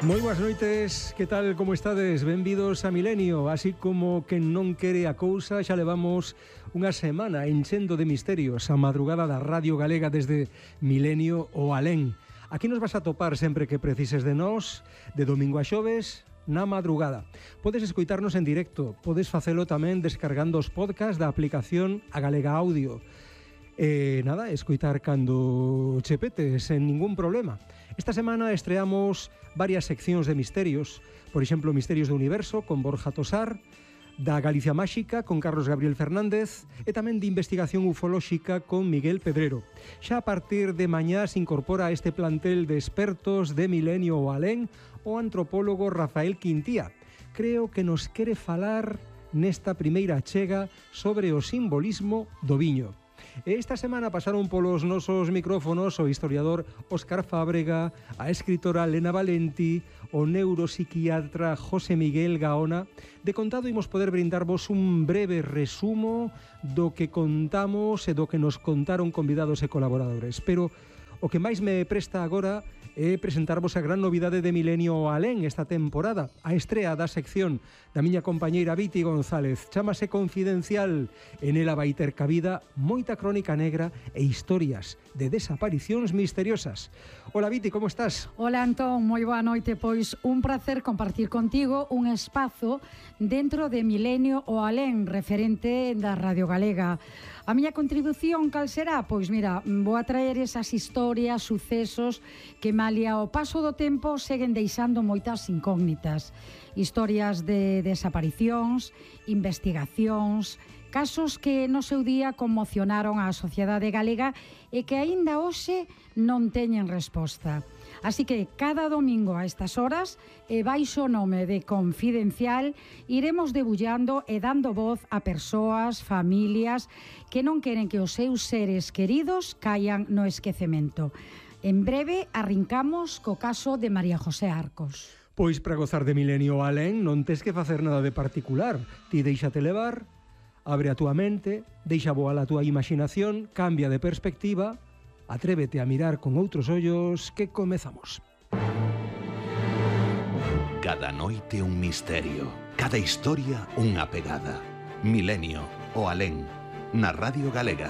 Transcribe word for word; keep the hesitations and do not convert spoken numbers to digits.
Moi boas noites, que tal, como estades? Benvidos a Milenio. Así como que non quere a cousa, xa levamos unha semana enchendo de misterios a madrugada da Radio Galega desde Milenio o Alén. Aquí nos vas a topar sempre que precises de nós, de domingo a xoves, na madrugada. Podes escoitarnos en directo, podes facelo tamén descargando os podcast da aplicación A Galega Audio. E nada, escoitar cando che pete, sen ningún problema. Esta semana estreamos varias seccións de misterios, por exemplo, Misterios do Universo con Borja Tosar, da Galicia Máxica con Carlos Gabriel Fernández e tamén de Investigación Ufolóxica con Miguel Pedrero. Xa a partir de mañá se incorpora a este plantel de expertos de Milenio o Alén o antropólogo Rafael Quintía. Creo que nos quere falar nesta primeira achega sobre o simbolismo do viño. Esta semana pasaron polos nosos micrófonos o historiador Óscar Fábrega, a escritora Lena Valenti, o neuropsiquiatra José Miguel Gaona. De contado imos poder brindarvos un breve resumo do que contamos e do que nos contaron convidados e colaboradores. Pero o que máis me presta agora é presentarvos a gran novidade de Milenio Alén esta temporada, a estrea da sección da miña compañeira Viti González. Chámase Confidencial. En ela vai ter cabida moita crónica negra e historias de desaparicións misteriosas. Hola Viti, como estás? Hola Antón, moi boa noite. Pois un placer compartir contigo un espazo dentro de Milenio o Alén, referente da Radio Galega. A miña contribución cal será? Pois mira, vou a traer esas historias, sucesos que malia o paso do tempo seguen deixando moitas incógnitas. Historias de desaparicións, investigacións, casos que no seu día conmocionaron a sociedade galega e que aínda hoxe non teñen resposta. Así que cada domingo a estas horas, e baixo o nome de Confidencial, iremos debullando e dando voz a persoas, familias que non queren que os seus seres queridos caian no esquecemento. En breve arrincamos co caso de María José Arcos. Pois para gozar de Milenio Alén non tes que facer nada de particular. Ti deixate levar, abre a túa mente, deixa voar a túa imaginación, cambia de perspectiva, atrévete a mirar con outros ollos, que comezamos. Cada noite un misterio, cada historia unha pegada. Milenio o Alén, na Radio Galega.